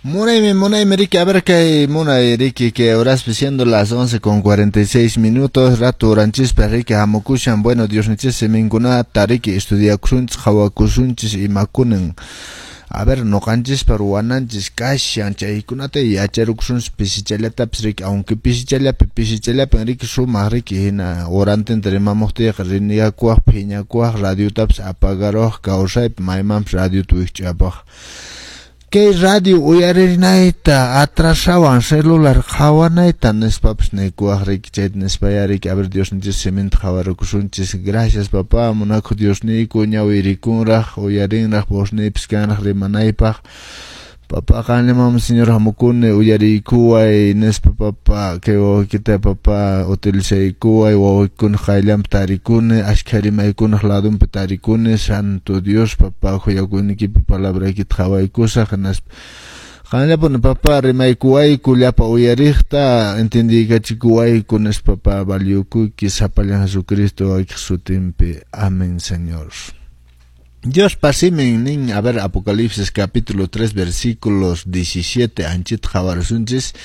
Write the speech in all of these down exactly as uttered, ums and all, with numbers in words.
Munaymi, munaymi, riki, a ver kay munay, riki, que horaspi siendo las once con cuarenta y seis minutos, rato uranchispa, riki, hamukushan. Bueno, Diosninchis siminkunata, riki, estudiakusunchis, qhawakusunchis imakunan, a ver, noqanchispa ruwananchis kashan chaykunata yacharukusunchis pisichallatapis, riki, aunque pisichallapi, pisichallapi, riki, sumaq, riki, hina horantinta rimamuqtiyqa riniyakuwaq, phiñakuwaq, radiotapis apagaruwaq, kawsaypi maymanpis radiota wikch'apaq. Kay radio uyarinayta atrasawan celular qhawanayta nispapas nikuwaq, riki. Chayta nispaya, riki, a ver, Diosninchis siminta qhawarukusunchis. Gracias, papá, munakuq Diosniyku, ñawi rikunraq, uyarinraq, vozniypis kanraq rimanaypaq. Papá, qanllamanmi, Señor, hamukuni, uyariykuway nispa, papá, kay wawaykita, papá, utilizaykuway, wawaykunaq qayllanpi tarikuni, ashkha rimaykunaq ladunpi tarikuni. Santo Dios, papá, khuyakuynikipi palabraykita qhawaykusaq, hinaspa qanllapuni, papá, rimaykuwayku, llapa uyariqta entendiykachikuwayku nispa, papá, valiyukuyki sapallan Jesucristo wawaykiq sutinpi. Amén, Señor. Dios simin nin, a ver, Apocalipsis capítulo tres versículos diecisiete, anchita qhawarisunchis.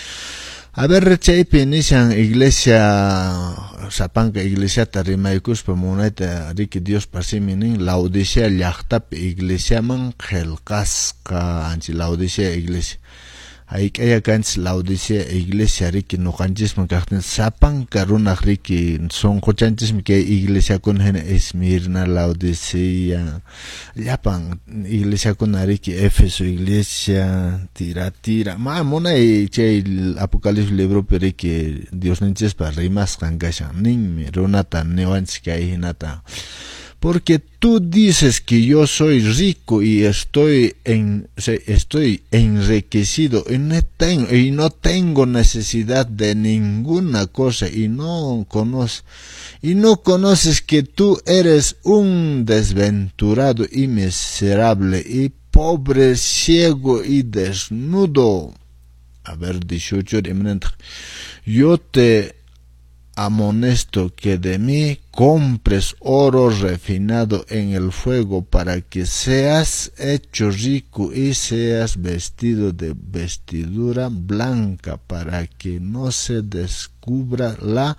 A ver, chaypi nishan iglesia, sapanka iglesiata rimaykuspa munayta, riki, Dios simin nin, Laodicea llaqtapi iglesiaman qillqasqa, anchi Laodicea iglesia. Hayk'aya kanchis Laodicea iglesia, riki, nuqanchisman kaqtin sapanka runaq, riki, sunquchanchismi kay iglesiakuna hina Esmirna, Laodicea, llapan iglesiakuna, riki, Éfeso iglesia, Tiatira. Ma munay chay Apocalipsis libropi, riki, Diosninchispa rimasqan kashan, ninmi runata niwanchis kay hinata: "Porque tú dices que yo soy rico y estoy en, estoy enriquecido y no tengo, y no tengo necesidad de ninguna cosa y no conoces y no conoces que tú eres un desventurado y miserable y pobre, ciego y desnudo". A ver, dieciocho, "Yo te amonesto que de mí compres oro refinado en el fuego para que seas hecho rico y seas vestido de vestidura blanca para que no se descubra la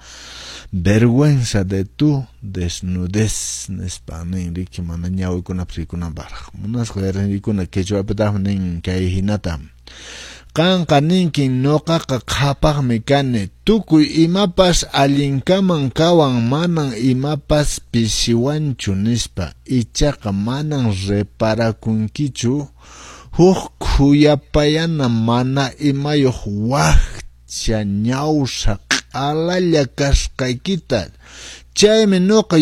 vergüenza de tu desnudez". Nispa nin, riki, mana ñawikunapas rikunanpaqraq munasqa rikuna quechuapitaqmi nin kay hinata: "Qanqa ninkin: 'Nuqaqa qhapaqmi kani, tukuy imapas allinkaman kawan, manan imapas pisiwanchu' nispa. Ichaqa manan reparakunkichu huk khuyapayana mana imayuq wakcha ñawsa q'alalla kasqaykita. Chaymi nuqa